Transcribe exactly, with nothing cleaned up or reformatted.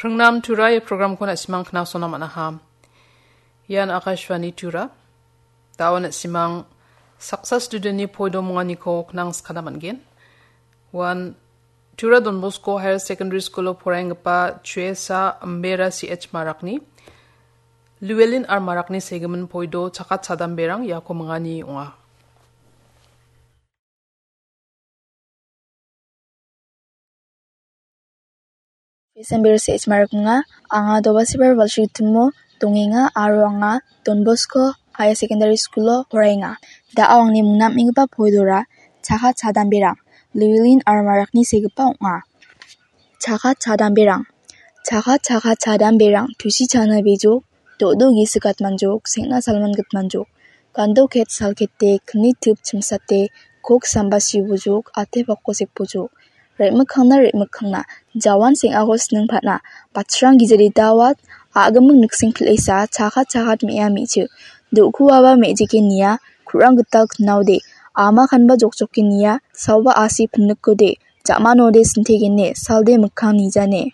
Pringnam Tura ia programko na·simang knasona man·aha. Ian Akashvani Tura. Dawa na·simang saksa studentni poido monganiko knang skana man·gen. Wan Tura Don Bosco Higher Secondary School-o poraienggipa Chuesa Ambera C H Marakni, Llewellyn R Marakni segimin poido chakat chadamberang iako mingani ong·a. December se·ech mariknga, anga Dobasibar Balsrigitimo dongenga aro anga Don Bosco Higher Secondary School-o poraenga. Da·o angni mingna am·enggipa poidora chakat chadamberang, Llewellyn R Marakni segipa ong·a. Chakat chadamberang. Chakat chakat chadamberang, tusi chana bijok, do·do gisik atmanjok, seng·na salman gitmanjok. Gando ket sal kete, kni tip chimsate, kok samba sibojok, ate pako sekbojok. Re·mikkangna re·mikkangna, jawan seng·ako sining patna. Bachrang gijeri dawat, a·gimik nikseng pil·esa, chakat chakat me·a me·chik. Do·kuaba me·jike nia, ku·rang gital knaode. Ama kanba jokjoke nia, saoba asi pinikode. Ja·manode sintegene, salde mikkang nijane.